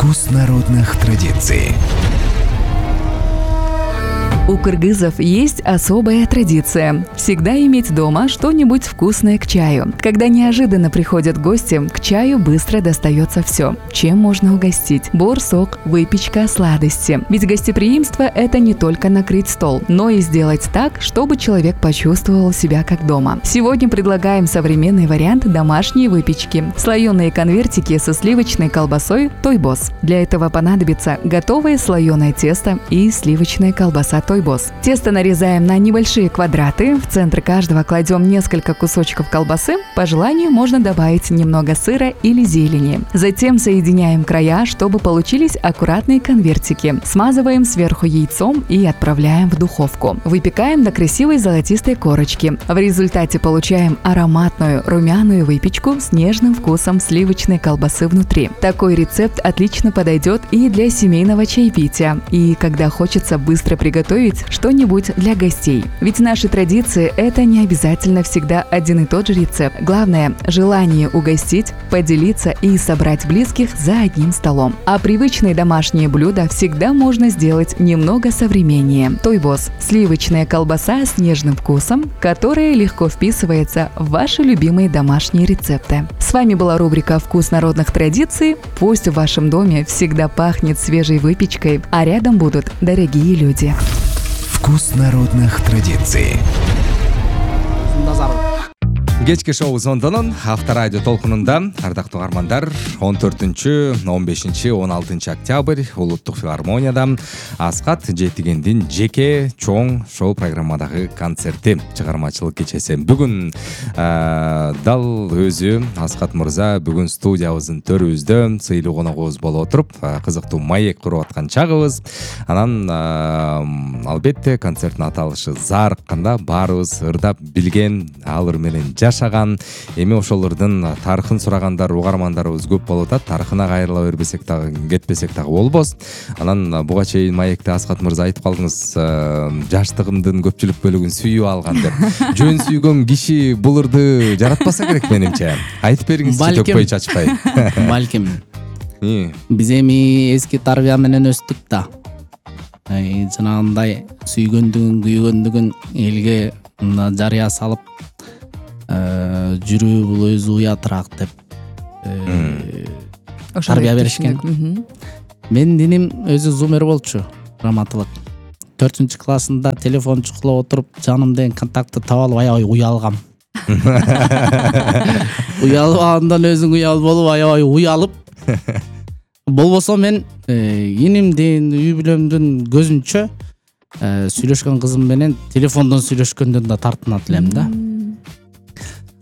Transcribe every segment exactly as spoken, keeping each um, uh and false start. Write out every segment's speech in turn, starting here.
Вкус народных традиций. У кыргызов есть особая традиция – всегда иметь дома что-нибудь вкусное к чаю. Когда неожиданно приходят гости, к чаю быстро достается все. Чем можно угостить? Бор, сок, выпечка, сладости. Ведь гостеприимство – это не только накрыть стол, но и сделать так, чтобы человек почувствовал себя как дома. Сегодня предлагаем современный вариант домашней выпечки – слоеные конвертики со сливочной колбасой «Тойбос». Для этого понадобится готовое слоеное тесто и сливочная колбаса «Тойбос». Тесто нарезаем на небольшие квадраты. В центр каждого кладем несколько кусочков колбасы. По желанию можно добавить немного сыра или зелени. Затем соединяем края, чтобы получились аккуратные конвертики. Смазываем сверху яйцом и отправляем в духовку. Выпекаем до красивой золотистой корочки. В результате получаем ароматную румяную выпечку с нежным вкусом сливочной колбасы внутри. Такой рецепт отлично подойдет и для семейного чаепития, и когда хочется быстро приготовить что-нибудь для гостей. Ведь наши традиции – это не обязательно всегда один и тот же рецепт. Главное – желание угостить, поделиться и собрать близких за одним столом. А привычные домашние блюда всегда можно сделать немного современнее. Тойбос – сливочная колбаса с нежным вкусом, которая легко вписывается в ваши любимые домашние рецепты. С вами была рубрика «Вкус народных традиций». Пусть в вашем доме всегда пахнет свежей выпечкой, а рядом будут дорогие люди. Вкус народных традиций. Кечки шоу Зондонун авторадио толкунунда ардактуу угармандар он төртүнчү, он бешинчи, он алтынчы октябрь улуттук филармонияда Аскат Жетигендин жеке чоң шоу программадагы концерти чыгармачылык кечеси. Бүгүн дал өзү Аскат мырза бүгүн студиябыздын төрүбүздө сыйлуу коногубуз болуп отуруп кызыктуу маек куруп аткан чагыбыз. Анан албетте концерттин аталышы зарыкканда баарыбыз ырдап билген, алар менен жашаган, эми ошолордун тарыхын сурагандар угармандарыбыз көп болуп атат. Тарыхына кайрыла бербесек дагы, кетпесек дагы болбос. Анан буга чейин маекте Аскат мырза айтып калдыңыз, жаштыгымдын көпчүлүк бөлүгүн сүйүп алган деп. Жөн сүйгөн киши бул ырды жаратпаса керек менимче. Айтып бериңизчи, төкпөй чачпай. Балким. Биз эми эски тарбия менен өстүк да. Жанагындай сүйгөндүгүн, күйгөндүгүн элге жарыя салып жүрүү бул өзү уятыраак деп тарбия беришкен. Менин диним өзү зумер болчу, раматылык. төртүнчү классында телефон чукулап отуруп, жаным деген контактты таап алып аябай уялгам. Уялып андан өзүң уял болуп аябай уялып. Болбосо мен инимдин, үй бүлөмдүн көзүнчө сүйлөшкөн кызым менен телефондон сүйлөшкөндөн да тартынат элем да.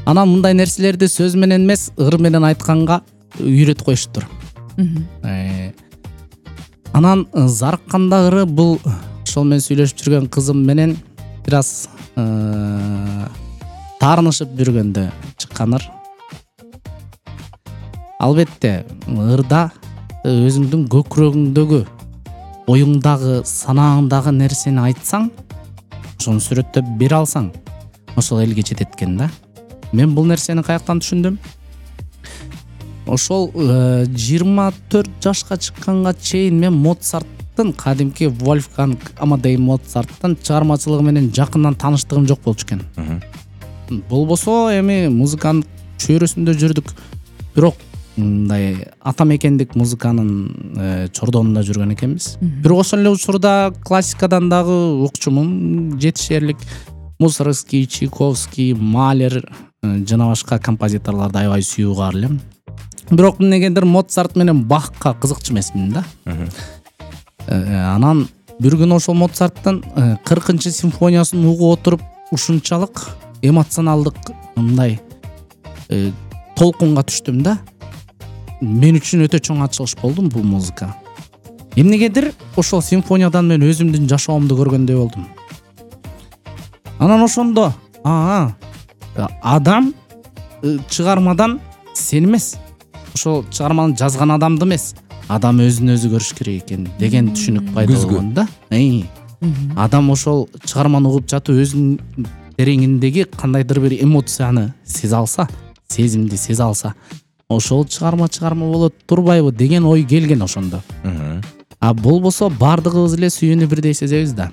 Анан мындай нерселерди сөз менен эмес, ыр менен айтканга үйрөтүп коюштур. Анан зарыккандагы бул ошол менен сүйлөшүп жүргөн кызым менен бир аз таарынышып жүргөндө чыкканыр. Албетте, ырда өзүңдүн көкүрөгүңдөгү, оюңдагы, санааңдагы нерсени айтсаң, ошону сүрөттөп бере алсаң, ошол элге жетет экен да. Мен бул нерсени каяктан түшүндүм? Ошол жыйырма төрт жашка чыкканга чейин мен Моцарттын, кадимки Вольфганг Амадей Моцарттын чыгармачылыгы менен жакындан тааныштыгым жок болчу экен. Болбосо эми музыканын чөйрөсүндө жүрдүк. Бирок мындай ата мекендик музыканын чордонунда жүргөн экенбиз. Бирок ошол эле учурда классикадан дагы укчумун, жетишерлик Мусоргский, Чайковский, Малер жана башка композиторлорду аябай сүйүп угар элем. Бирок эмнегендир Моцарт менен Бахка кызыкчу эмесмин да. Анан бир күнү ошол Моцарттын кыркынчы симфониясын угуп отуруп, ушунчалык эмоционалдык мындай толкунга түштүм да. Мен үчүн өтө чоң ачылыш болду бул музыка. Эмнегедир ошол симфониядан мен өзүмдүн жашоомду көргөндөй болдум. Анан ошондо аа адам чыгармадан сен эмес, ошол чыгарманы жазган адамды эмес, адам өзүн өзү көрүш керек экен деген түшүнүк пайда болгон да. Адам ошол чыгарманы угуп жатып өзүнүн тереңиндеги кандайдыр бир эмоцияны сезе алса, сезимди сезе алса, ошол чыгарма чыгарма боло турбайбы деген ой келген ошондо. А болбосо баардыгыбыз эле сүйүүнү бирдей сезебиз да.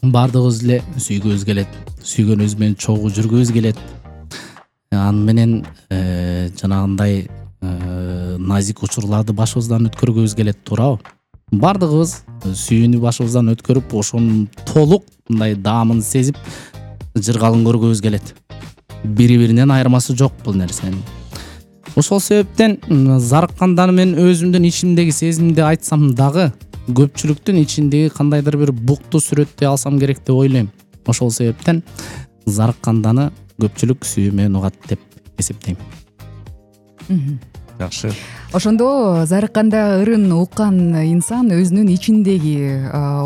Баардыгыбыз эле сүйгүбүз келет, сүйгөнүбүз менен чогуу жүргүбүз келет. Аны менен жанагындай назик учурларды башыбыздан өткөргүбүз келет, туурабы? Баардыгыбыз сүйүүнү башыбыздан өткөрүп, ошонун толук мындай даамын сезип, жыргалын көргүбүз келет. Бири-биринен айырмасы жок бул нерсенин. Ошол себептен зарыккандары мен өзүмдүн ичимдеги сезимди айтсам дагы көпчүлүктүн ичиндеги кандайдыр бир букту сүрөттөй алсам керек деп ойлойм. Ошол себептен зарыкканданы көпчүлүк сүйүү менен угат деп эсептейм. Жакшы. Ошондо зарыкканда ырын уккан инсан өзүнүн ичиндеги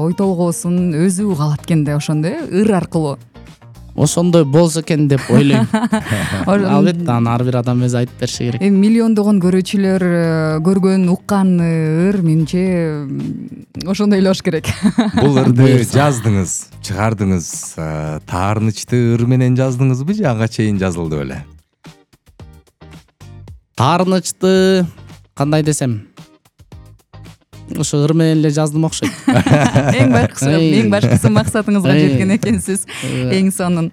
ой толгоосун өзү уга алат экен да, ошондо ыр аркылуу. Ошондой болсо экен деп ойлойм. Албетте аны ар бир адам өзү айтып бериши керек. Эми миллиондогон көрүүчүлөр көргөн, уккан ыр менимче ошондой эле болуш керек. Бул ырды жаздыңыз, чыгардыңыз, таарынычты ыр менен жаздыңызбы же ага чейин жазылды беле? Таарынычты кандай десем, ошо ыр менен эле жаздым окшойт. Эң башкысы, эң башкысы максатыңызга жеткен экенсиз. Эң сонун.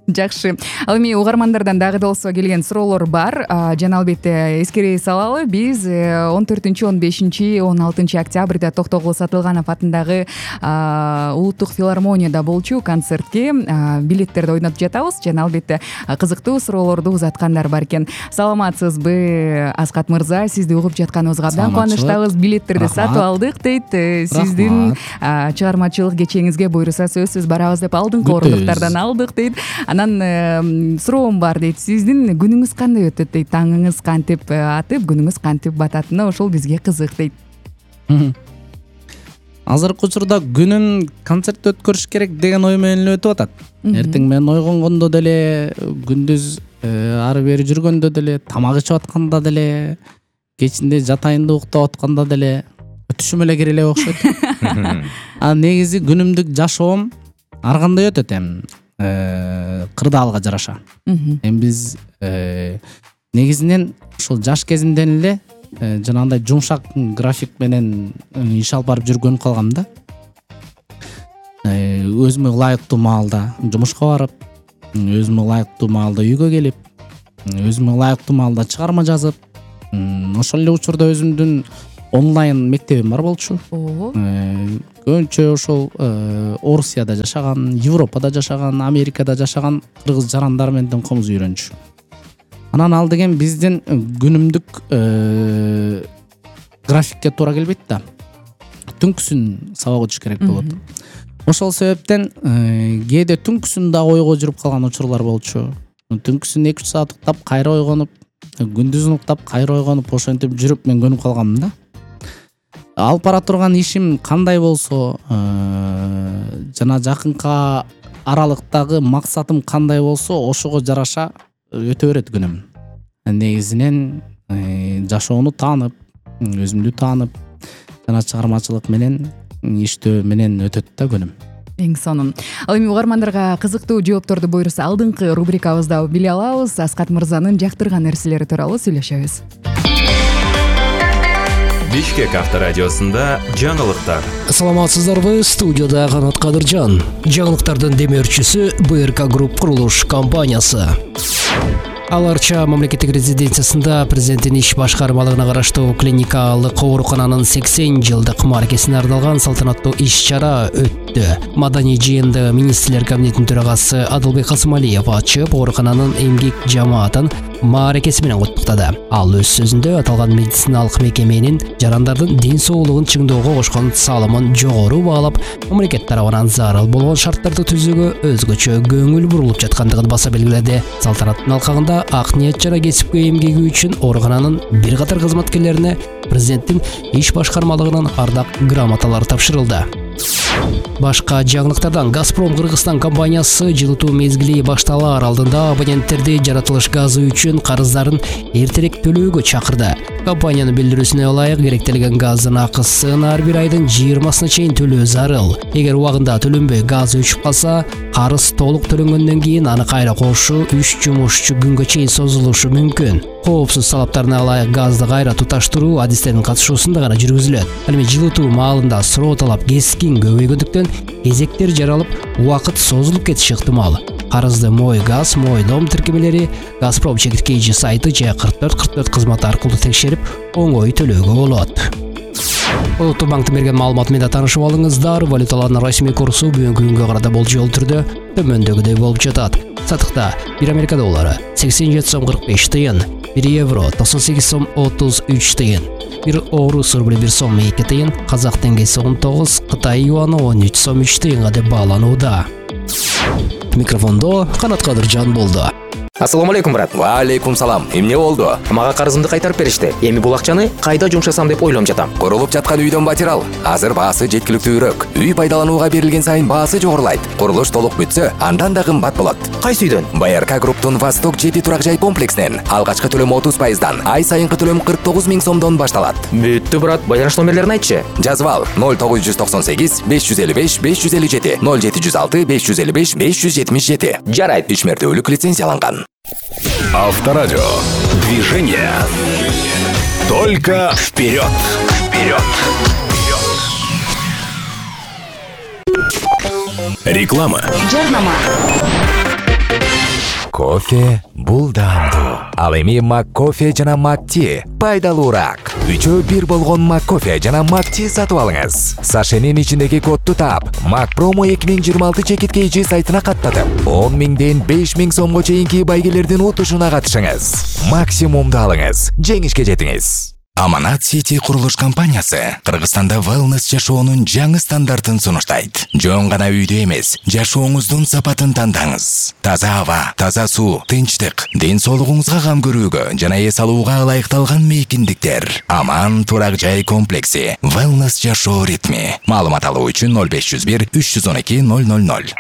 Жакшы. Ал эми угармандардан дагы да болсо келген суроолор бар. Жана албетте эскере салалы, биз он төртүнчү, он бешинчи, он алтынчы октябрда Токтогул Сатылганов атындагы улуттук филармонияда болчу концертке билеттерди ойнотуп жатабыз. Жана албетте кызыктуу суроолорду узаткандар бар экен. Саламатсызбы, Аскат мырза? Сизди угуп жатканыбызга абдан кубанычтабыз. Билеттерди сатып алдык дейт. Сиздин чыгармачылык кечеңизге буйруса сөзсүз барабыз деп алдыңкы орундуктардан алдык дейт. Анан суроом бар дейт. Сиздин күнүңүз кандай өтөт дейт? Таңыңыз кантип атып, күнүңүз кантип бататыны ошол бизге кызык дейт. Азыркы учурда күнүм концерт өткөрүш керек деген ой менен өтүп атат. Эртең менен ойгонгондо деле, күндүз ары бери жүргөндө деле, тамак ичип атканда деле, кечинде жатайында уктап атканда деле түшүм эле кире эле окшойт. А негизи күнүмдүк жашоом ар кандай өтөт эми. Кырдаалга жараша. Эми биз негизинен ушул жаш кезимден эле жанагындай жумшак график менен иш алып барып жүргөнүп калгам да. Өзүмө ылайыктуу маалда жумушка барып, өзүмө ылайыктуу маалда үйгө келип, өзүмө ылайыктуу маалда чыгарма жазып, ошол эле учурда өзүмдүн онлайн мектебим бар болчу. Көбүнчө ошол Орусияда жашаган, Европада жашаган, Америкада жашаган кыргыз жарандар менен комуз үйрөнчү. Анан ал деген биздин күнүмдүк графикке туура келбейт да. Түнкүсүн сабак өтүш керек болот. Ошол себептен кээде түнкүсүн да ойго жүрүп калган учурлар болчу. Түнкүсүн эки үч саат уктап, кайра ойгонуп, күндүзүн уктап, кайра ойгонуп, ошентип жүрүп мен көнүп калганмын да. Алып бара турган ишим кандай болсо, жана жакынка аралыктагы максатым кандай болсо, ошого жараша өтө берет күнүм. Негизинен жашоону таанып, өзүмдү таанып, жана чыгармачылык менен иштөө менен өтөт да күнүм. Эң сонун. Ал эми угармандарга кызыктуу жоопторду буйруса алдыңкы рубрикабызда биле алабыз. Аскат мырзанын жактырган нерселери тууралуу сүйлөшөбүз. Бишкек авторадиосунда жаңылыктар. Саламатсыздарбы, студияда Канат Кадыржан. Жаңылыктардын демөөрчүсү бэ эр ка Групп курулуш компаниясы. Аларча мамлекеттик резиденциясында президенттин иш башкармалыгына караштуу клиникалык оорукананын сексен жылдык мааракесине арналган салтанаттуу иш-чара өттү. Маданий жыйынды министрлер кабинетинин төрагасы Адылбек Касымалиев ачып, оорукананын эмгек жамаатын мааракеси менен куттуктады. Ал өз сөзүндө аталган медициналык мекеменин жарандардын ден соолугун чыңдоого кошкон салымын жогору баалап, мамлекет тарабынан зарыл болгон шарттарды түзүүгө өзгөчө көңүл бурулуп жаткандыгын баса белгиледи. Салтанаттын алкагында ак ниет жана кесипкөй эмгеги үчүн оорукананын бир катар кызматкерлерине президенттин иш башкармалыгынын ардак грамоталары тапшырылды. Башка жаңылыктардан Газпром Кыргызстан компаниясы жылытуу мезгили башталаар алдында абоненттерди жаратылыш газы үчүн карыздарын эртерээк төлөөгө чакырды. Компаниянын билдирүүсүнө ылайык, керектелген газдын акысын ар бир айдын жыйырмасына чейин төлөө зарыл. Эгер убагында төлөнбөй газ өчүп калса, карыз толук төлөнгөндөн кийин аны кайра кошуу үч жумушчу күнгө чейин созулушу мүмкүн. коопсуз талаптарына ылайык газды кайра туташтыруу адистеринин катышуусунда гана жүргүзүлөт. Ал эми жылытуу маалында суроо талап кескин көбөйгөндүктөн кезектер жаралып, убакыт созулуп кетиши ыктымал. Карызды Мой газ, Мой дом тиркемелери Газпром чекиткейчи сайты же кырк төрт кырк төрт кызматы аркылуу текшерип, оңой төлөөгө болот. Улуттук банктын берген маалыматы менен таанышып алыңыздар. Валюталардын расмий курсу бүгүнкү күнгө карата болжол түрдө төмөндөгүдөй болуп жатат. Сатыкта бир Америка доллары сексен жети сом кырк беш тыйын, бир евро токсон сегиз сом отуз үч тыйын, бир орус рубли бир сом эки тыйын, казак теңгеси он тогуз, Кытай юаны он үч сом үч тыйынга деп бааланууда. Микрофондо Канат Кадыржан болду. Ассаламу алейкум, брат. Ва алейкум салам. Эмне болду? Мага карызымды кайтарып беришти. Эми бул акчаны кайда жумшасам деп ойлонуп жатам. Курулуп жаткан үйдөн батирал. Азыр баасы жеткиликтүүрөөк. Үй пайдаланууга берилген сайын баасы жогорулайт. Курулуш толук бүтсө, андан да кымбат болот. Кайсы үйдөн? БРК групптун Восток жети турак жай комплексинен алгачкы төлөм отуз пайыздан, ай сайынкы төлөм кырк тогуз миң сомдон башталат. Бүттү, брат. Байланыш номерлерин айтчы. Жазып ал: ноль тогуз жүз токсон сегиз беш жүз элүү беш беш жүз элүү жети, ноль жети жүз алты беш жүз элүү беш беш жүз жетимиш жети. Жарайт. Ичмердүүлүк лицензияланган. Авторадио. Движение. Только вперед. Вперед. Реклама. Жарнама. Кофе бул даамдуу. Ал эми Маккофе жана Макти пайдалуураак. Үчөө бир болгон Маккофе жана Макти сатып алыңыз. Сашенин ичиндеги кодду таап, Макпромо эки миң жыйырма алты чекиткейчи сайтына каттатып, он миңден беш миң сомго чейинки байгелердин утушуна катышыңыз. Максимумду алыңыз, жеңишке жетиңиз. Аманат Сити курулуш компаниясы Кыргызстанда wellness жашоонун жаңы стандартын сунуштайт. Жөн гана үйдө эмес, жашооңуздун сапатын тандаңыз. Таза аба, таза суу, тынчтык, ден соолугуңузга кам көрүүгө жана эс алууга ылайыкталган мейкиндиктер. Аман турак жай комплекси. Wellness жашоо ритми. Маалымат алуу үчүн ноль беш жүз бир үч жүз он эки ноль ноль ноль.